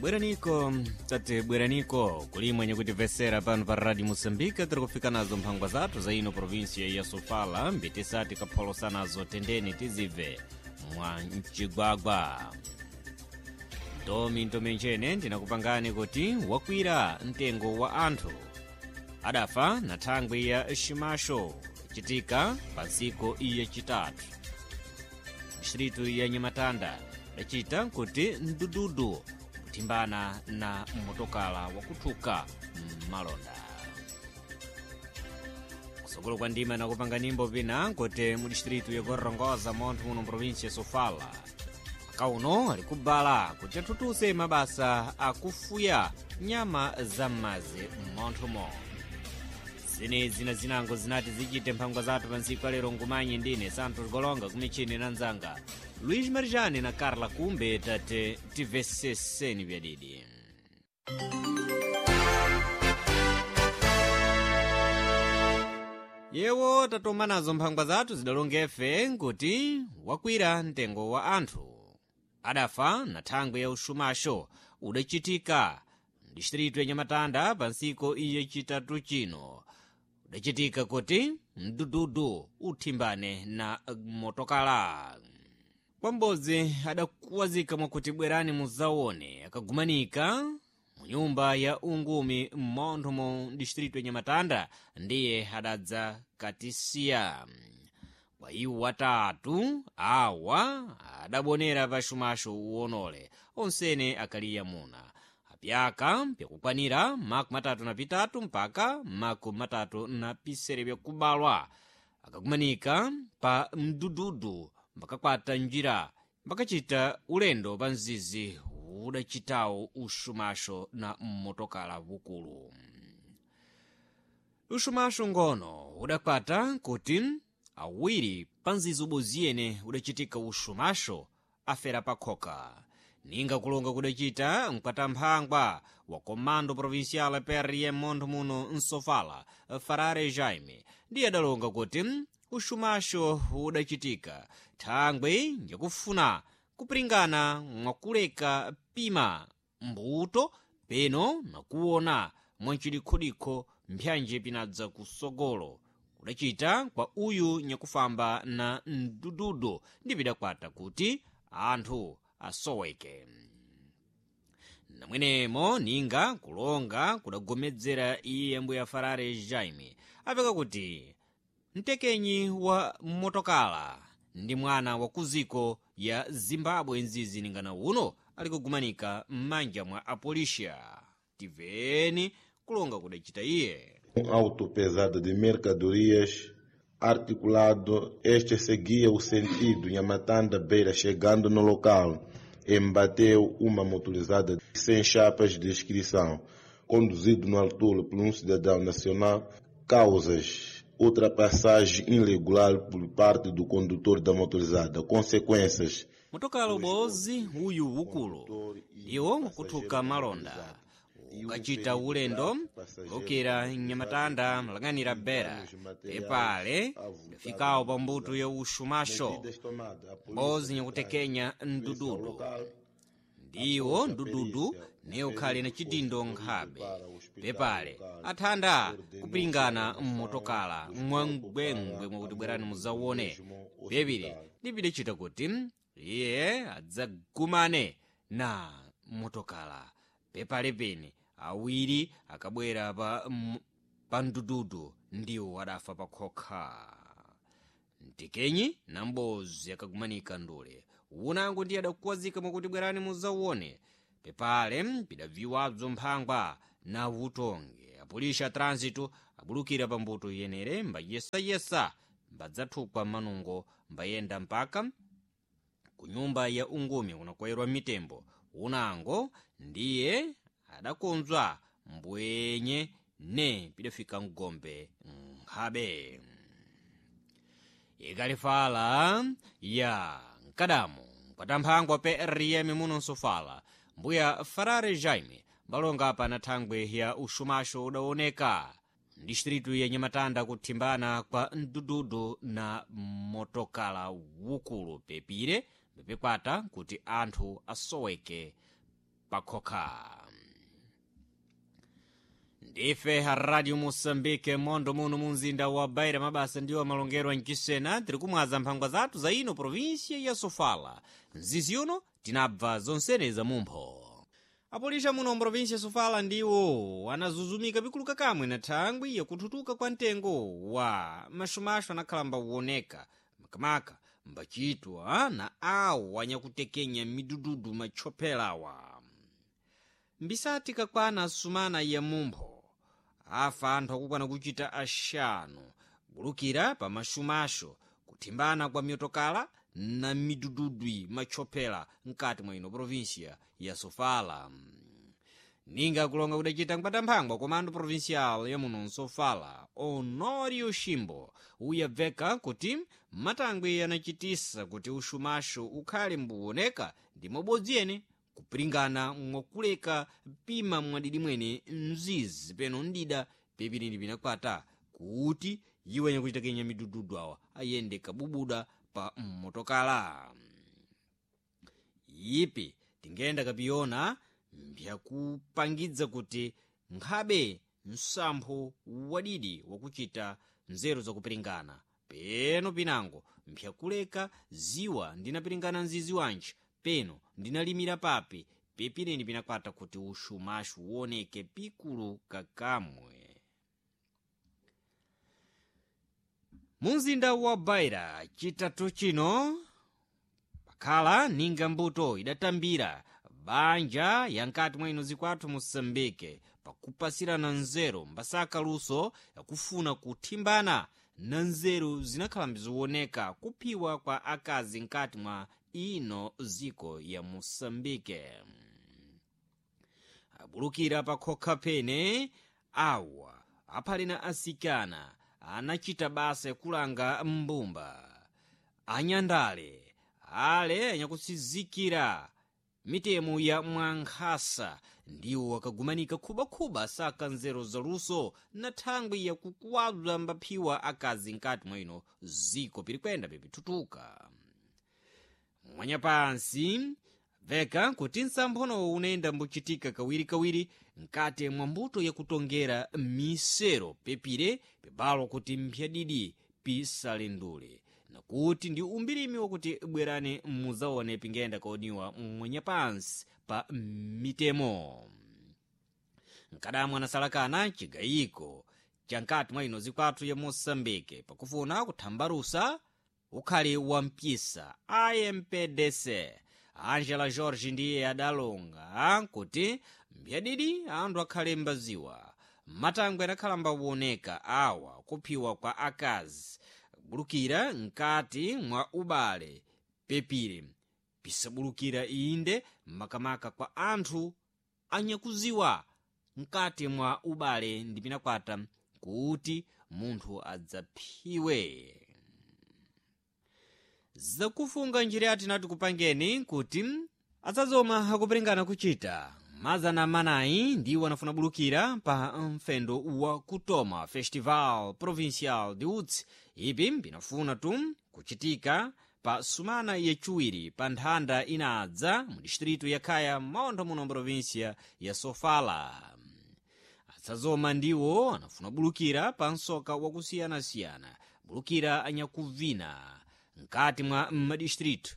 Bweraniko, tate bweraniko kulimwe nyakutimvesera pano pa Radio Moçambique. Tiri kufika nazo mphangwa zathu za ino província ya Sofala, mbitisati kapholosa nazo tendeni tizibve mwa mcigwagwa. Ndomi ntomenjene ndinakupangani kuti wakwira mtengo wa anthu adafa na thangwi ya ximaxo citika pa ntsiku yacitatu. Distritu ya Nyamatanda dacita kuti mdududu kuthimbana na motokala wakuthuka mmalonda. Kusokolo kwa ndima nakupanga nimbo pina kuti mu distritu ya Gorongosa montho muno província ya Sofala akauno ali kubala kuti athuthuse mabasa akufuya nyama za m'madzi m'monthomo. Zenezi na zinango zinati zichite mphangwa zathu pa ntsiku alero. Ngumanyi ndine Santos Golonga, kumichini na nzanga Luiz Marijane na Carla Kumbe. Tate tiveseseni vyadidi. Yewo tatoma nazo mphangwa zathu zidalongefe nkuti wakwira mtengo wa anthu adafa na thangwi ya uxumaxo udacitika mdistritu ya Nyamatanda pa ntsiku yacitatu chino. Udacitika kuti mdududu uthimbane na motokala. Kwambodzi adakuwazika mwakuti bwerani muzaone, akagumanika mu nyumba ya ungumi m'montho mu distritu ya Nyamatanda, ndiye adadza katisiya. Kwa iwo watatu awa adabonera pa xumaxo uwonole onsene akaliya muna apyaka pyakukwanira 33 mpaka 37 pyakubalwa, akakumanika pa mdududu mbakakwata njira mbakacita ulendo pa mzizi udacitawo uxumaxo na mmotokala wukulu. Uxumaxo ngono udakwata kuti awiri pa mzizi uboziyene udacitika uxumaxo afera pakhoka. Ninga kulonga kudacita mkatamphangwa wa Comando Provincial PRM montho muno Nsofala, Farare Jaime, ndiye adalonga kuti uxumaxo udacitika thangwi yakufuna kupiringana mwakuleka pima mbuto peno nakuona mwancidikhudikho mphyanji pinadza kusogolo kudacita kwa uyu nyakufamba na mdududu, ndi pidakwata kuti anthu asoweke. Namwenemo ninga kulonga kudagomedzera iye mbuya Farare Jaime apeka kuti mtekenyi wa motokala ndi mwana wa kuziko ya Zimbabwe nzizi ningana uno ali kugumanika m'manja mwa apolisia. Tiveni kulonga kudacita iye. Auto pesado de mercadorias articulado, este seguia o sentido Nhamatanda Beira, chegando no local, embateu uma motorizada sem chapas de inscrição, conduzido no altura por um cidadão nacional. Causas: ultrapassagem irregular por parte do condutor da motorizada. Consequências: Motokala ubozi uyu ukulu iwo kuthuka malonda ukacita ulendo lokera Nyamatanda mlang'anira Bera pepale ndafikawo pa mbuto ya uxumaxo mbozi nyakutekenya mdududu, ndiwo mdududu ne ukhali na cidindo nkhabe. Pepale athanda kupiringana mmotokala mwangwengwe mwakuti bwerani muzawone. Pepile ndipidacita kuti iye adzagumane na motokala. Pepale pene awiri akabwera pa mdududu ndiwo adafa pakhokha. Mtekenyi na mbozi akagumanika ndule unango ndiye adakuwazika mwakuti bwerani muzawone. Pepale pidaviwabzo mphangwa na utonge apolisi a trânsito abulukira pa mbuto yenere mbayesayesa mbadzathukwa manungo mbayenda mpaka ku nyumba ya ungumi kunakwayirwa mitembo. Unango ndiye adakonzwa mbwenye ne pidafika mgombe nkhabe. Ikalifala ya mkadamu mkatamphangwa PRM muno Nsofala, mbuya Farare Jaime mbalonga apa na thangwi ya uxumaxo udaoneka distritu ya Nyamatanda kuthimbana kwa mdududu na motokala wukulu, pepire pepekwata kuti anthu asoweke. Pakhokha. Ndife Radio Moçambique, mondo muno munzinda wa Beira. Mabasa ndiwo amalongerwa mchisena. Tiri kumwaza mphangwa zathu za ino província ya Sofala. Mzizi uno tinabva zonsene za mumpho. Apolisa muno mprovinsia ya Sofala ndiwo anazuzumika pikuluka kamwe na thangwi yakuthutuka kwa mtengo wa maxumaxu anakhalamba uwoneka makamaka mbachitwa na awo anyakutekenya midududu matchophelawa. Mbisati kakwana sumana ya mumpho afa anthu akukwana kuchita axanu bulukira pa maxumaxo kuthimbana kwa myotokala na midududwi matchophela mkati mwa ino província ya Sofala. Ninga kulonga kudacita mkwata komando provincial ya muno Sofala, Honório Ximbo, uyabveka kuti matangwe anachitisa kuti uxumaxo ukhale mbuwoneka ndi mobodzi ene kupiringana mwakuleka pima mwadidi mwene mzizi peno ndida pepinini pinakwata kuti iwo anyakuchitakenya midududu awa ayende kabubuda pa mmotokala. Ipi tingenda kapiyona mbzakupangidza kuti nkhabe msampho wadidi wakuchita nzeru zakupiringana peno pinango mpyakuleka ziwa ndinapiringana mzizi wanji peno ndinalimira papi pepineni pinakwata kuti uxumaxu uwoneke pikulu kakamwe. Munzinda wa Beira chitatu chino pakhala ninga mbuto idatambira banja yankati mwa ino zikwathu Moçambique pakupasirana nzeru mbasaka luso yakufuna kuthimbana na nzeru zinakhala mbiziwoneka kuphiwa kwa akazi nkati mwa ino ziko ya Moçambique. Abulukira pakhokha pene awa aphali na asikana anachita basa yakulanga mbumba anyandale ale anyakusizikira mitemo ya mwankhasa ndiwo akagumanika khubakhuba saka nzeru zaluso na thangwi yakukuwabza mbaphiwa akazi nkati mwa ino ziko pirikwenda pipithutuka. Mwanyapansi veka kuti msamphonowo unayenda mbuchitika kawirikawiri mkati mwa mbuto yakutongera misero pepire pibalo kuti mphyadidi pisalendule nakuti ndi umbirimi wakuti bwerani muzaone pingenda kaoniwa mwanyapansi pa mitemo. Mkadamwa anasalakana chigayiko cha nkati mwa ino zikwathu ya Moçambique pakufuna kuthambalusa ukhali wa mpisa IMPDC. Angela George ndiye adalonga kuti mbyadidi anthu akhale mbaziwa matangwe adakhala mbawoneka awa kuphiwa kwa akazi bulukira mkati mwa ubale pepire pisabulukira inde makamaka kwa anthu anyakuziwa mkati mwa ubale ndi pinakwata kuti munthu adzaphiwe. Zakufunga njira tinati kupangeni kuti adzazoma akupiringana kuchita mazana manayi ndiwo anafuna bulukira pa mfendo wa kutoma Festival Provincial de Utsi. Ipi pinafuna tu kuchitika pa sumana yachiwiri pa nthanda inadza mu distritu ya Khaya maontho muno província ya Sofala. Adzazoma ndiwo anafuna bulukira pa msoka wakusiyanasiyana bulukira anyakuvina mkati mwa madistritu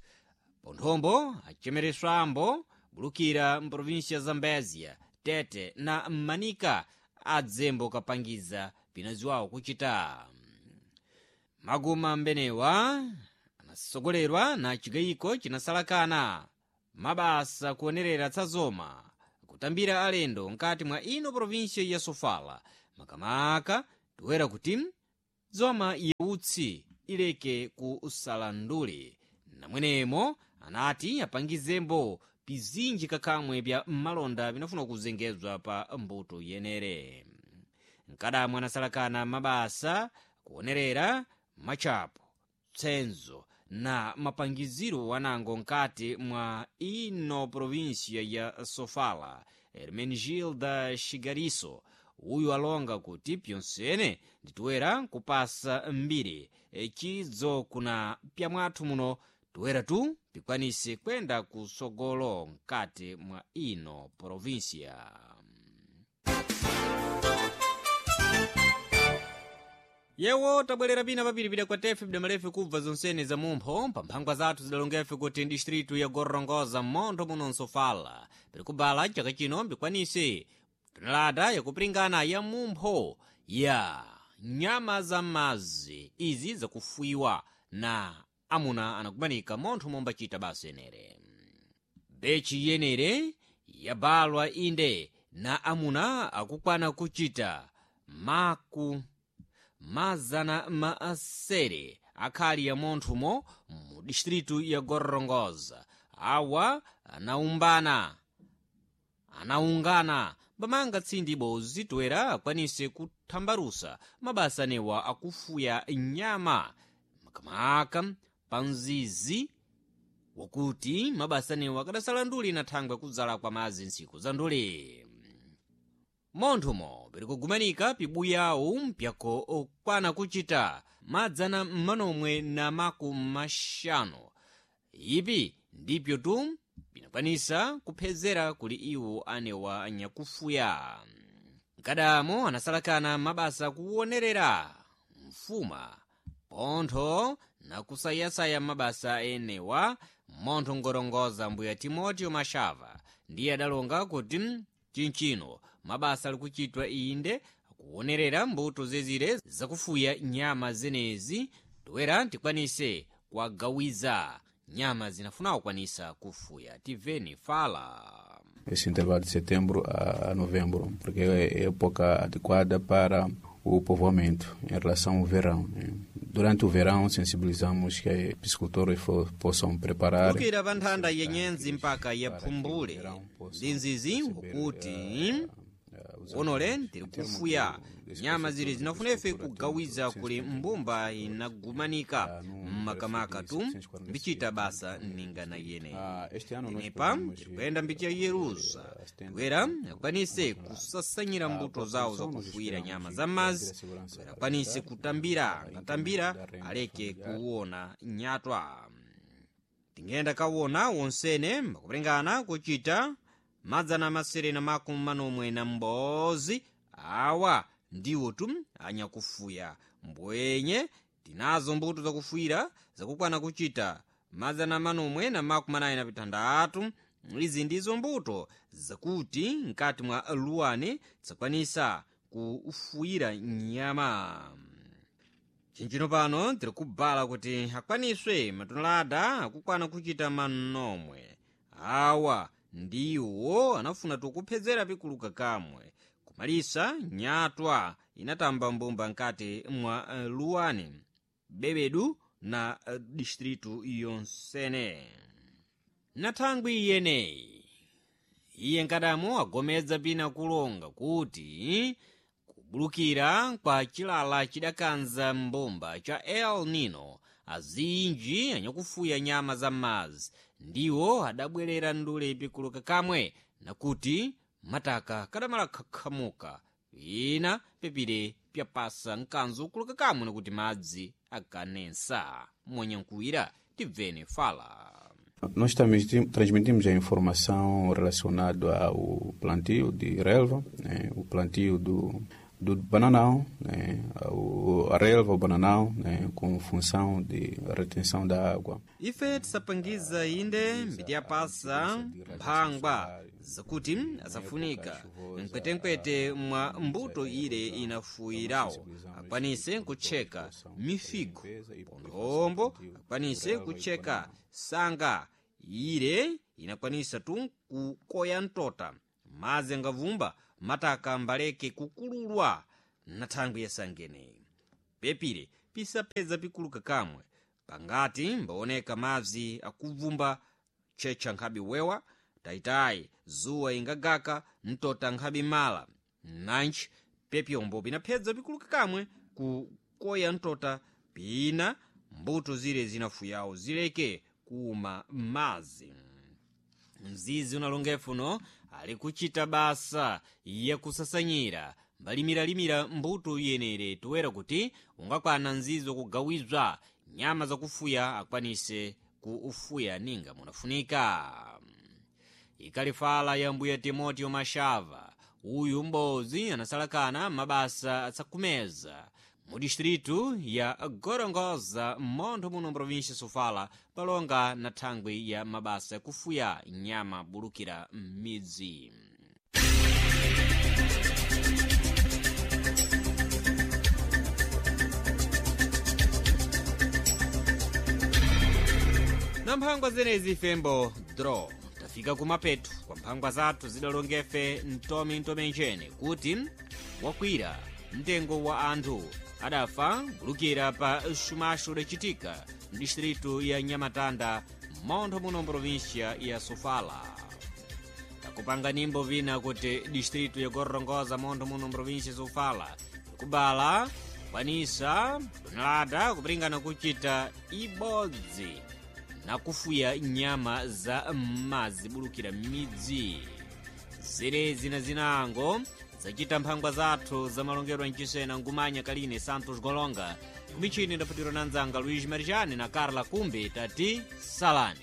ponthombo achemereswambo bulukira mprovinsia Zambezia, Tete na Manika adzembo kapangiza pinaziwawo kuchita. Maguma mbenewa anasogolerwa na chigayiko chinasalakana mabasa kuonerera tsazoma kutambira alendo mkati mwa ino provinsia ya Sofala makamaka toera kuti zoma yautsi ileke kusalandule. Namwenemo anati apangizembo pizinji kakamwe pya malonda pinafuna kuzengezwa pa mbuto yenere. Mkadamwa anasalakana mabasa kuonerera machapo tsenzo na mapangiziro wanango nkati mwa ino província ya Sofala, Hermenegilda Xigariso uyu alonga kuti pyonsene nditoera kupasa mbiri chidzo kuna pyamwathu muno toera tu pikwanise kwenda kusogolo mkati mwa ino provinsia. Yewo tabwerera pina papiripira kwa tefe bidamalefe kubva zonsene za mumpho pamphangwa zathu zidalongefe kuti distritu ya Gorongosa mmontho muno nsofala piri kubala chaka chino mbikwanise tonelada yakupiringana ya mumpho ya nyama za madzi izi zakufuiwa na amuna anakumanika montho mombachita basa yenere. Bechi yenere yabalwa inde na amuna akukwana kuchita maku mazana maasere akhali ya monthumo mu distritu ya Gorongosa. Awa anaumbana anaungana pamanga tsindi bozitwera akwanise kuthambalusa mabasa anewa akufuya nyama makamaka pa mzizi wakuti mabasa anewa akadasala nduli na thangwe kudzala kwa madzi ntsiku za nduli. Monthumo piri kugumanika pibuyawu mpyako okwana kuchita madzana manomwe na maku maxanu. Ipi ndipyo tu pinakwanisa kuphezera kuli iwo anewa anyakufuya. Mkadamo anasalakana mabasa kuwonerera mfuma pontho na kusayasaya mabasa enewa montho ngorongoza mbuya Timoteo Mashava ndiye adalonga kuti chinchino mabasa ali kuchitwa inde kuwonerera mbuto zezire zakufuya nyama zenezi toera tikwanise kuwagawiza nyama zinafuna kukwanisa kufuya. Tiveni fala Esse intervalo de setembro a novembro, porque é época adequada para o povoamento em relação ao verão, né? Durante o verão, sensibilizamos que piscicultores possam preparar. Kukira pa nthanda ya nyenzi mpaka ya phumbule ndi nzizi ukuti onole tiri kufuya nyama zili zinafunefe kugawiza kuli mbumba inagumanika mmakamaka tu mbichita basa ningana yene. Tenepa tirikuyenda mbicha yerusa toera akwanise kusasanyira mbuto zawo zakufuyira nyama za madzi toera akwanise kutambira angatambira aleke kuwona nyatwa. Tingenda kawona wonsene mbakuperengana kuchita madzana masere na makumi manomwe na m'bodzi. Awa ndiwo tu anyakufuya mbwenye tinazo mbuto zakufuyira zakukwana kuchita madzana manomwe na makumi anayi na pitandatu. Izi ndizo mbuto zakuti mkati mwa luwani zakwanisa kufuyira nyama. Chinchino pano tiri kubala kuti akwaniswe matonelada akukwana kuchita manomwe. Awa ndiwo anafuna tukuphedzera pikuluka kamwe kumalisa nyatwa inatamba mbumba nkati mwa luwani bebedu na distritu yonsene. Na thangwi iyeneyi iye nkadamo agomedza pina kulonga kuti kubulukira kwa chilala chidakanza mbumba cha El Nino azinji anyakufuya nyama za madzi ndiwo adabwerera ndule pikuluka kamwe nakuti mataka kadamala khakhamuka pina pepire pyapasa mkanzo kuluka kamwe nakuti madzi akanensa. Monyankuwira tibvene fala. Nós transmitimos a informação relacionada ao plantio de relva, né, o plantio do bananão, né, a relva, o bananão, né, com função de retenção da água. Ife tisapangiza inde mbitiyapasa mphangwa zakuti asafunika mkwetenkwete mwa mbuto ile inafuyirawo akwanise kutcheka mifigo ponthombo akwanise kutcheka sanga ile inakwanisa tu kukoya mtota madzi angavumba mataka mbaleke kukululwa na thangwi yasangene pepire pisaphedza pikuluka kamwe pangati mbaoneka madzi akuvumba tchetcha nkhabe wewa tayitayi zuwa ingagaka mtota nkhabe mala nanji pepyombo pinaphedza pikuluka kamwe kukoya mtota pina mbuto zile zinafuyawo zileke kuuma madzi. Mzizi unalongefuno ali kuchita basa yakusasanyira mbalimilalimira mbuto yenere toera kuti ungakwana nzizi wakugawizwa nyama zakufuya akwanise Kuufuya ninga munafunika. Ikalifala ya mbuya Timoteo Mashava, uyu m'bodzi anasalakana mabasa atsakumeza mu distritu ya Gorongosa, m'montho muno mprovinsia Sofala, palonga na thangwi ya mabasa yakufuya nyama bulukira m'midzi. Na mphangwa zenezi ifembo dro tafika kumapetu kwa mphangwa zathu zidalongefe mtomi ntomenjene kuti wakwira mtengo wa anthu adafa bulukira pa xumaxo lacitika mdistritu ya Nyamatanda, montho muno mprovinsia ya Sofala. Takupanga nimbo vina kuti distritu ya Gorongosa, montho muno mprovinsia ya Sofala, ikubala kwanisa tonelada kupringana kuchita ibodzi nakufuya nyama za m'madzi bulukira m'midzi. Zirezi na zinango zacita mphangwa zathu za malongedwe mcisena ngumanya Kaline Santos Golonga, kumichini ndaputiro na nzanga Luiz Marijani na Carla Kumbi. Tati salani.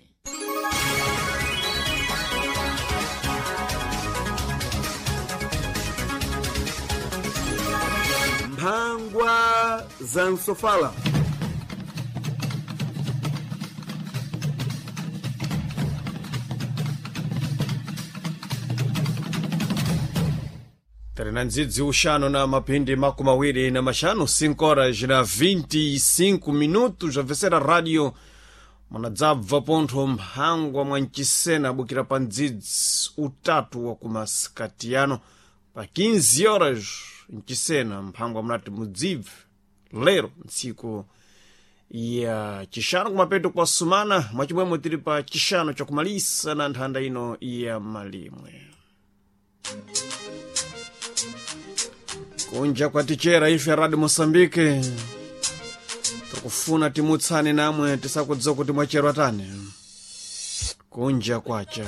Mphangwa za Msofala. Tari ndzidzi uxanu na mapindi 25, 5 horas na 25 minutos, abvesera radio munadzabva pontho mphangwa mwa mcisena abukira pa ndzidzi utatu wa kumasikatiyano pa 15 horas mcisena mphangwa munati mudzibve lero ntsiku ya chixano kumapeto kwa sumana mwachimwemwe tili pa chixano chakumalisa na nthanda ino ya malimwe. Kunja kwatichera ife Radio Moçambique tikufuna timutsane namwe tisakudziwa kuti mwacherwa tani kunja kwacha.